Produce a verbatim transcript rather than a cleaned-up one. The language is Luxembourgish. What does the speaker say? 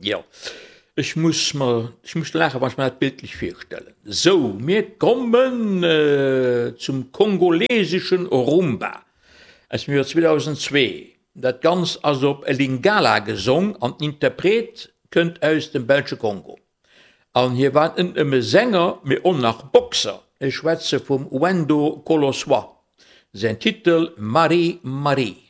Jo, ech muss mer, ech muss laachen, wann ech mer dat bildlech virstellen. Sou, mir kommen zum kongoleseschen Rumba aus dem Joer zweedausendzwee. Dat Ganzt ass op Lingala gesong an den Interpret kënnt aus dem belsche Kongo. An hie war net nëmme Sänger, mee och nach Boxer. Ech schwätze vum Wendo Kolosoy. Säin Titel Marie Marie.